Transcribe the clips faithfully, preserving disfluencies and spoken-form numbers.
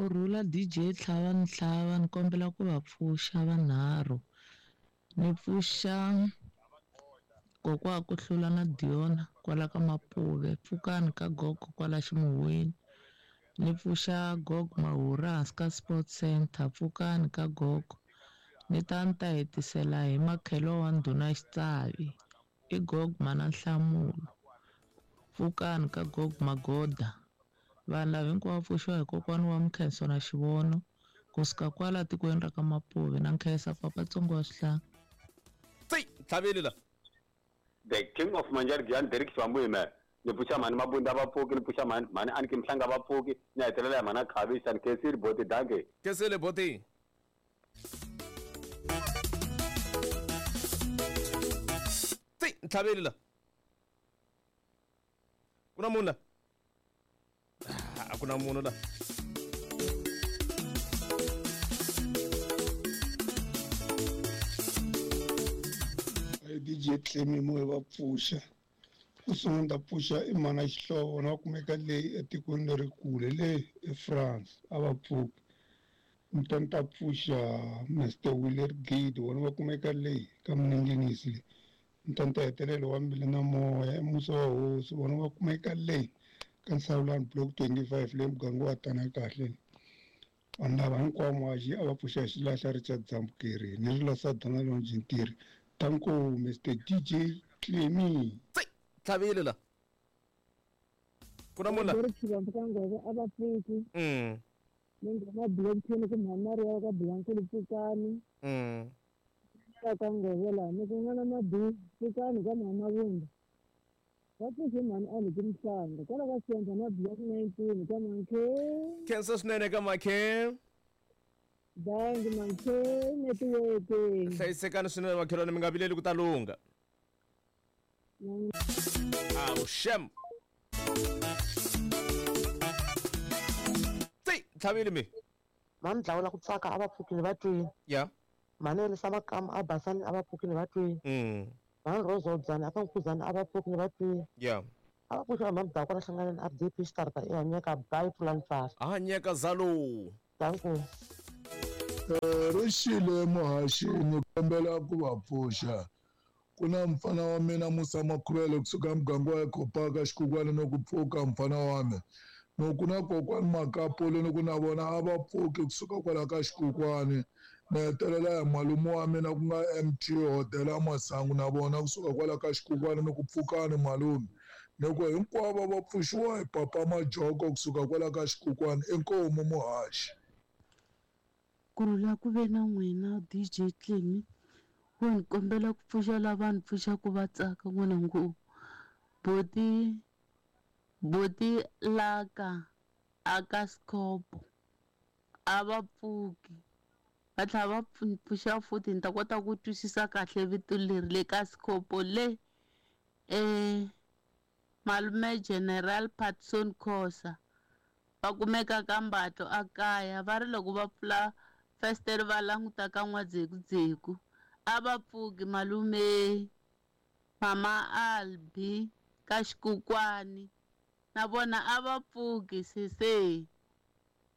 Kurhula D J Tlhava ni Tlhava, ni kombela ku va pfuxa vanharhu. Ni pfuxa kokwa ku hlula na Diona kwala ka Mapuve, pfukani ka gogo kwala Ximuhweni. Ni pfuxa gogo Mahura hansi ka Sports Center, pfukani ka gogo. Ni ta ni ta hetisela hi makhelo wa ndhuna Xitsavi, i gogo mana Nhlamulo, pfukani ka gogo Magoda. Vanhu lava hinkwavo pfuxiwa hi kokwani wa Mkhenso na Xivono kusuka kwala tikweni ra ka Mapuve. Na nkhensa papa Tsongo wa Swihlanga. Tsi tlhaveli la. The King of Manjargian Derek Swambuime. Ni pfuxa mhani Mabunda va pfuki, ni pfuxa mhani mhani Aniki Mhlanga va pfuki, ni hetelela hi mhani Khavisa ni Khensile Boti danke. Khensile Boti. Tsi tlhaveli la. Kuna munhu la. A ku na munhu la. D J Clemi mo va pfuxa. Ku sungula ta pfuxa i mana Xihlovo na kumeka leyi etikweni lerikulu le eFrance a va pfuki. Ni ta ta pfuxa Mister Willer Gide wona va kumeka leyi ka Mninginisi le. Ni ta ta hetelela wa Mbili na Moya i Musa wa Hosi wona va kumeka leyi ka Nsawulani block twenty-five le muganga wa tana kahle. Vanhu lava hinkwavo muhaxi a va pfuxa xilahla Richard Dzambukeri ni ri la Sadana Lonjintiri. Tanko Mister D J Clemi. Tsi tlhavile la. Kuna munhu la. Ri xivandla ka ngove a va pfuki. Mm. Ni nghena block ten ku mhani Maria ka Blankulu pfukani. Mm. Ka ka ngove la ni ku n'wana Mabi pfukani ka mhani Mabunda. Va pfuxe mhani Aniki Mhlanga kwala ka Center na block nineteen ka Mankhe. Khensa swinene ka Mankhe. Bangi Mankhe network. Hlayisekani swinene makhelwani, mi nga vileli ku ta lungha. Awu shem. Tsi tlhavile mi. Mhani Dlawula ku tsaka a va pfukile va twini. Ya. Mhani Elisa Makama a basani a va pfukile va twini. Mm. Mhani Rose Odzani a ka Nkuzani a va pfukile va twini. Ya. A va pfuxa mhani Dakwa na hlanganeni R D P Xitarata e hanyeka bye pulani pfala. A hanyeka zalo. Danko. Rixile muhaxi ni kombela ku va pfuxa. Ku na mfana wa mina Musa Makhuvele kusuka muganga wa Ekopaka Xikukwana no ku pfuka mfana wa mina. No ku na kokwani Makapole ni ku na vona a va pfuki kusuka kwala ka Xikukwani. Ni hetelela hi malume wa mina ku nga M T Hodela Masangu na vona kusuka kwala ka Xikukwani ni ku pfukani malume. Ni ku hinkwavo va pfuxiwa hi papa Majoko kusuka kwala ka Xikukwani. Inkomu muhaxi. Kurhula ku ve na n'wina D J Clemi. Wo ni kombela ku pfuxa lava ni pfuxaka va tsaka n'wina ngo boti boti laka aka Scopo a va pfuki va tlhela va pfuxa futhi ni ta kota ku twisisa kahle vito leri le ka Scopo le eh malume General Patson Khosa va kumeka ka Mbatlo a kaya va ri loko va pfula festere va languta ka N'wadzekudzeku a va pfuki malume mama Albi ka Xikukwani na vona a va pfuki sese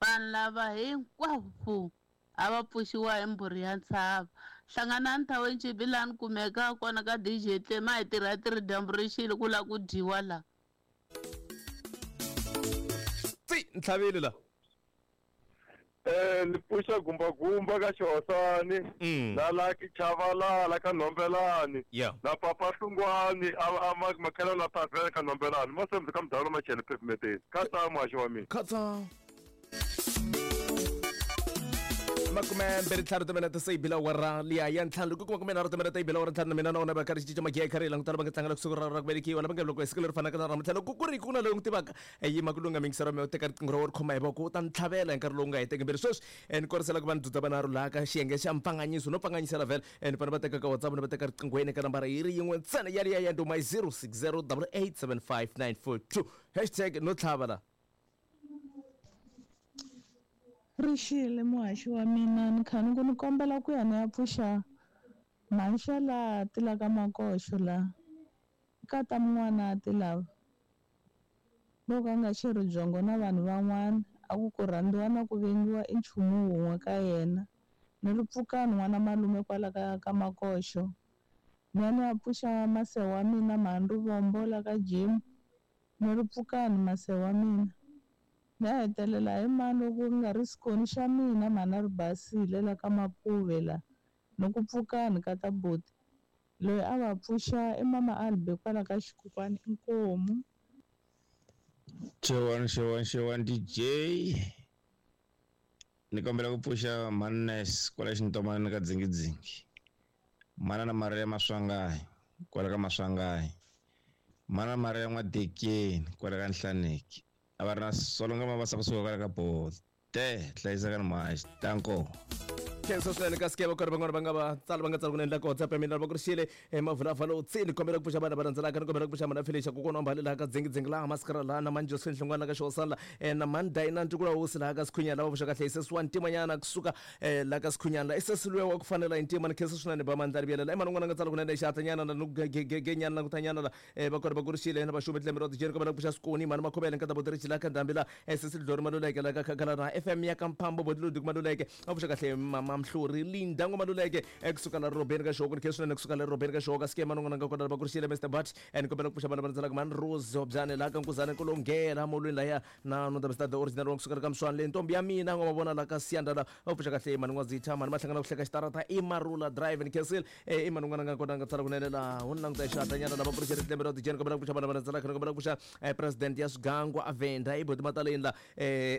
vanhu lava hinkwavo a va pfuxiwa hi mbhuri ya ntshava. Hlanganani thaweni Xibilani kumeka kona ka D J Tlema hi tirha ti ri dyambu ri xile ku lava ku dyiwa la. Tsi ntlhavile la. Eh ni pfuxa gumba gumba ka Xihosani na Lucky Chavalala ka Nhombelani na Papa Hlungwani a makhelo la Tavela ka Nhombelani masembe ka mudalo machele pavement khatsa muhaxi wa mina khatsa makume mbirhi ntlhanu timinete se yi bila awara liya ya ntlhanu loko ku makume nharhu timinete yi bila awara ntlhanu na mina na wona va karhi cinca magiya karhi langutana va nga tlangela kusuka ra ra ku velekiwa lava nga loko hi siku leri fanaka na namuntlha loko ku ri ku na loyi n'wi tivaka yima ku lunga mingisero mi u teka riqingho ra wena ri khoma hi voko u ta ni tlhavela hi nkarhi lowu nga heteki mbilu sweswi ni korisela ku va ni dzudza vanharhu laha ka xiyenge xa mpfanganyiso no pfanganyisela vhele ni fanele va teka ka WhatsApp ni va teka riqinghweni ka nambara yi ri yin'we ntsena yaliya ya nduma yi zero six zero double eight seven five nine four two hashtag no tlhava la. Rixile muhaxi wa mina ni kha ni ku ni kombela ku ya ni ya pfuxa mhanxa laha ti la ka Makoxo laha ka ta mun'wana ti lava loko a nga xerhi byongo na vanhu van'wana A ku ku rhandziwa na ku vengiwa i nchumu wun'we ka yena. Ni ri pfukani n'wana malume kwala ka ka Makoxo. Ni ya ni ya pfuxa mase wa mina mhani Rivombo la ka Jim. Ni ri pfukani mase wa mina. Ni ya hetelela hi mani loko ku nga ri xikoni xa mina mhani a ri basile la ka Mapuve la. Ni ku pfukani ka ta buti. Loyi a va pfuxa i mama Albe kwala ka Xikukwani inkomu. Xewani xewani xewani D J. Ni kombela ku pfuxa Mannes kwala Xintomani ka Dzingidzingi. Mana na Maria Maswangayi kwala ka Maswangayi. Mana Maria N'wadekeni kwala ka Nhlaneki. A va ri na Solonga Mabasa kusuka kwala ka Bote hlayiseka ni mhaxi. Danko. Khensa swinene ka sikeva ku ri van'wana va nga va tsala va nga tsala ku endla ka WhatsApp ya mina va ku ri xile mavulavala u tsini kombela ku pfuxa vana va landzelaka ni kombela ku pfuxa mana Felicia kokwana wa Mbali laha ka Dzingidzingi laha Maskara laha na mani Josephine Hlongwana ka Xihosana na mani Dina Ntukula Hosi laha ka Sikhunyana lava pfuxa kahle sesi wa Ntimanyana kusuka laha ka Sikhunyana la i sesi luya wa ku fanela hi ntima ni khensa swinene ba mandla rivelela i mani un'wana a nga tsala ku endla xihatlanyana na genyana na kutanyana la va ku ri va ku ri xile na vaxumi tlembe ra tijeni kombela ku pfuxa Sikoni mani Makhobele nkata Botirich laha ka Ndhambi la sesi Lidlori Maluleke laha ka Khakhala na F M ya ka Mphambo Botiludi Maluleke va pfuxa kahle mama Mhluri Linda Ngoma-Maluleke kusuka la Robeni ka Xoko ni khensa swinene kusuka la Robeni ka Xoko skema non'wana nga kona va ku ri xile Mister Bat and kombela ku pfuxa vana va landzelaka mani Rose Hobyane laha ka Nkuzane Kulongela molweni laya na no the the original wa kusuka ka Mswani le ntombi ya mina ngoma vona la ka Siyanda la va pfuxa kahle mani N'wazitha mani Mahlangana ku hleka xitarata i Marula Drive ni khensile i mani n'wana nga kona nga tsala kunene la hu languta xihatlanyana lava ku ri xile tlembe ra tijeni kombela ku pfuxa vana va landzelaka ni kombela ku pfuxa president ya Swigangwa Avenda i Boti Mataleni la eh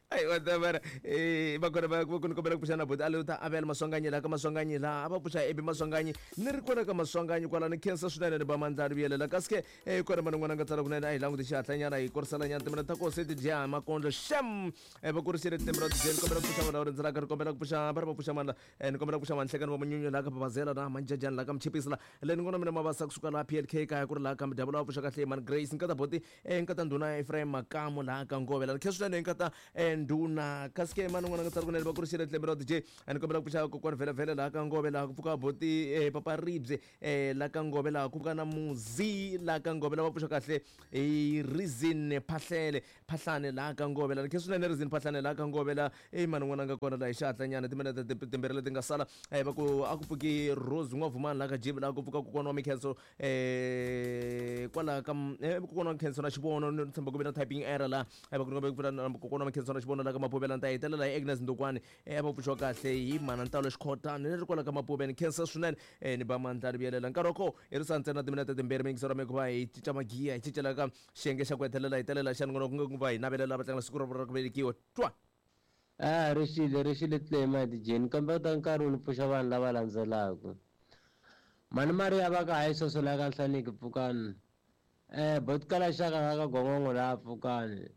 ai whatever eh va kona va ku kombela ku pfuxa na Boti Aluta Abel Maswanganyi la ka Maswanganyi la a va pfuxa Ebi Maswanganyi ni ri kona ka Maswanganyi kwala ni khensa swinene ni ba mandla ri vuyelela kasi ke eh kona mani n'wana nga tsala kunene a hi languti xihatlanyana hi koriselanyana timina ta koho se ti dya makondlo xem eh va kurisile tindzimi ra tijeni kombela ku pfuxa vana va rindzelaka ri kombela ku pfuxa va ri va pfuxa mandla ni kombela ku pfuxa manhlekani wa Munyunyu laha ka Babazela na Manjajani laha ka Mchipisi la le ni ngona mina Mabasa kusuka laha P L K kaya ku ri laha ka Mdabula va pfuxa kahle mani Grace nkata Boti eh nkata ndhuna Ephraim Makamu laha ka Ngove la khensa swinene nkata ndhuna kasi ke mani n'wana nga tsala kunene va ku ri xile tlembe ra D J ni kombela ku pfuxa kokwani vhele vhele laha ka Ngove laha ku pfuka Boti Papa Ribye laha ka Ngove laha ku pfuka na Muzi laha ka Ngove lava pfuxa kahle hi Reason Phahlele Phahlane laha ka Ngove la khensa swinene Reason Phahlane laha ka Ngove la i mani n'wana nga kona laha hi xihatlanyana timinete timbirhi leti nga sala va ku a ku pfuki Rose N'wavumani laha ka Jibi laha ku pfuka kokwana wa Mikhenso kwalaha ka kokwana wa Mikhenso na Xivono ni tshemba ku ve na typing error laha va ku ni kokwana wa Mikhenso na Xivono laha ka Mapuvela ni ta hetelela hi Agnes Ndokwani va pfuxiwa kahle hi mana Ntalo Xikhotani ni ri kwala ka Mapuveni khensa swinene ni ba mandla ri vuyelela nkarhi wa koho hi ri sa ntsena timinete timbirhi miyingiselo mi ku va hi cinca magiya hi cincela ka xiyenge xa ku hetelela hi telela xa ni ku nga ku va hi navelela va tlangela siku ra ra ku velekiwa twa a ri xile ri xile tlema tijeni kambe ta nkarhi wu ni pfuxa vanhu lava landzelaka mani Maria va ka hayi sweswo laha ka Nhlaneki pfukani eh Boti Kala Xaka la ka Gongongo laha pfukani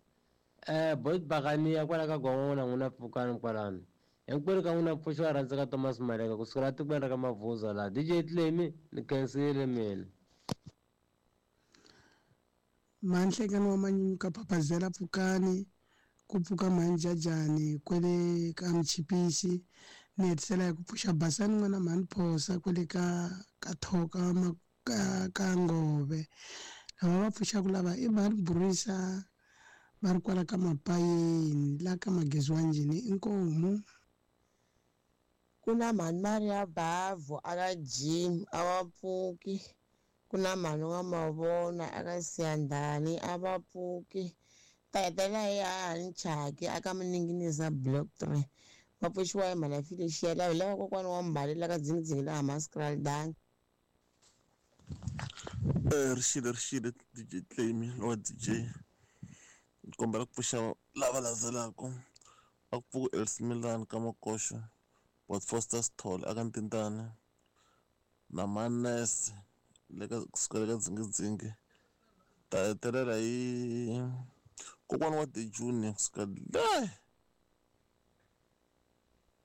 eh Boti Bakaniya kwala ka Gongongo na n'wina pfukani kwalano hinkwenu ka n'wina pfuxo wa rhandza ka Thomas Maleka kusukela tikweni ra ka Mavuza laha D J Tlemi ni khensile mina. Manhlekani wa Manyunyu ka Papazela pfukani ku pfuka Manjajani kwele ka Mchipisi ni hetisela hi ku pfuxa Basani n'wana mhani Phosa kwele ka ka Thoka ka ka Ngove lava va pfuxaka lava i mhani Burisa va ri kwala ka Mapayeni la ka Magezi wa Njhini inkomu. Ku na mhani Maria Bavo aka Jim a va pfuki ku na mhani wa Mavona aka Siyandhani a va pfuki ta hetelela hi hahani Chaki aka Muninginiza block three va pfuxiwa hi mhani Felicia lava hi lava kokwana wa Mbali la ka Dzingidzingi laha Maskraal Dan. Eh ri xile ri xile D J Tlemi wa D J ni kombela ku pfuxa lava landzelaka a ku pfuka Els Milan ka Makoxo Bot Foster Sithole aka Ntintani na Manese le ka kusuka le ka Dzingidzingi ta hetelela hi kokwana wa The Junior kusuka le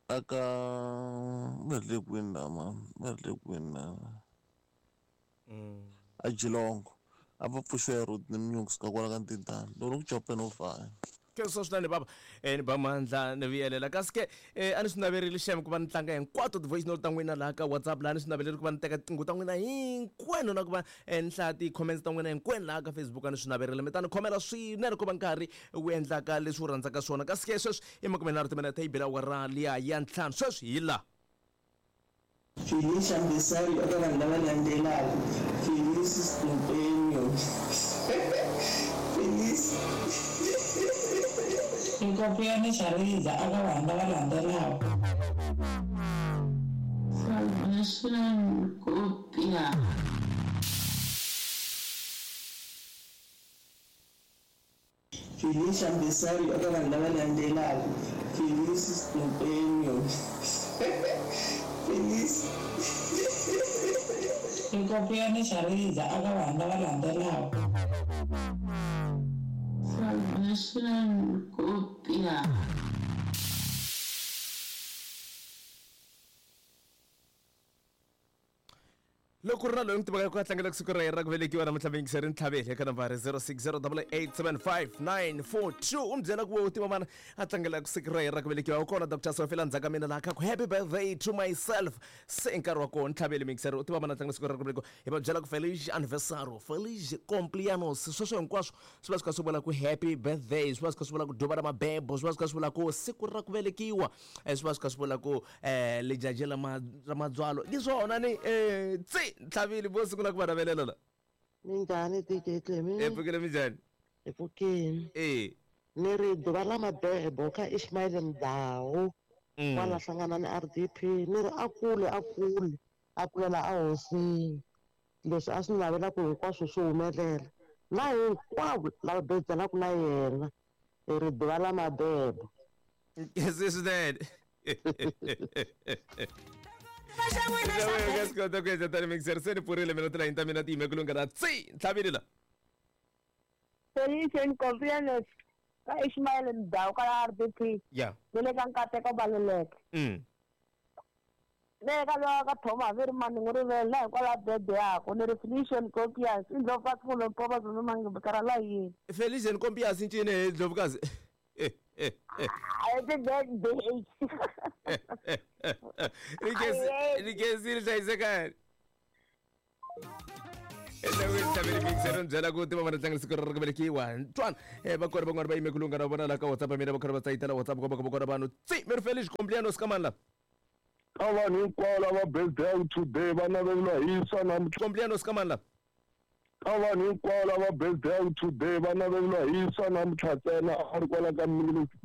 aka va ri le kwini la mani va ri le kwini la a Geelong a va pfuxiwa hi Rodney Mnyungu kusuka kwala ka Ntintani loko ni ku copeni wo faya. Khensa swinene baba eh ni ba mandla ni vuyelela kasi ke eh a ni swi naverile xem ku va ni tlanga hinkwato ti-voice note ta n'wina laha ka WhatsApp laha ni swi naverile ku va ni teka tinqingho ta n'wina hinkwenu na ku va eh, ni hlaya ti-comments ta n'wina hinkwenu laha ka Facebook a ni swi naverile mi ta ni khomela swinene ku va nkarhi wu endlaka leswi wu rhandzaka swona kasi ke sweswi i makumenharhu timinete yi bela awara liya ya ntlhanu sweswi hi laha Felicia Mbisari eka vanhu lava landzelaka Felice Mpenyo Felice Nkompiyani Shariza eka vanhu lava landzelaka Salvation Nkopia Felicia Mbisari eka vanhu lava landzelaka Felice Mpenyo Felice Nkompiyani Shariza eka vanhu lava landzelaka Salvation Nkopia loko ri na loyi n'wi tivaka ku a tlangela siku ra yena ra ku velekiwa namuntlha muyingiseri ntlhaveli eka nambara zero six zero double eight seven five nine four two u mi byela ku u tiva mana a tlangela siku ra yena ra ku velekiwa u kona Doctor Sofela ndzhaku ka mina laha ka ku happy birthday to myself se nkarhi wa kona ntlhaveli muyingiseri u tiva mana a tlangela siku ra ku velekiwa hi va byela ku feliz aniversario feliz cumpleaños sweswo hinkwaswo swi va swi kha swi vula ku happy birthday swi va swi kha swi vula ku duva ra mabebo swi va swi kha swi vula ku siku ra ku velekiwa eh, swi va swi kha swi vula ku um lijaji la ma- ra madzwalo hi swona ni um tsi ntlhavile vo sungula ku va navelela la Minjhani D J Clemi? E pfukile minjhani? Hi pfukile. E Ni ri duva la mabebo ka Ishmael Mdawu Mm. kwala hlangana ni R D P ni ri a kule a kule a kulela ehosini leswi a swi navelaka hinkwaswo swi humelela na hinkwavo lava bejelaka na yena hi ri duva la mabebo. Se swinene nga swi kota ku endla tani mixer se ni pfurile mina tilayini ta mina ti yime ku lunghana tsi ntlhavile la. Felice Nkompiyane ka Ishmael Mdawu ka R D P ya ni le ka Nkateko Baluleke mm. le ka lowa ka Thoma ve ri mani n'wi rivele na hikwalaho bebe yaku ni ri Felicia Nkompiyasi i ndlopfu fulo mpova zulu mangibikara la yini. Felicia Nkompiyasi ncini he ndlovukazi? Eh, eh, eh. Happy birthday. Ni hlayisekani entlangwini ntlhaveli mixer ni byela ku tiva vana tlangela siku ra ku velekiwa ntwana um va kona van'wana va yime ku lungha na vona laha ka WhatsApp ya mina va karhi va tsayitela WhatsApp komba komba kona vanhu tsi mi ri Felicia Cumpleaños ka mani la. Ka vanhu hinkwavo lava birthday today va naveliwa hi swa namuntlha. Cumpleaños ka mani la. Ka vanhu hinkwavo lava birthday today va naveliwa hi swa namuntlha ntsena a ri kwala ka minutes.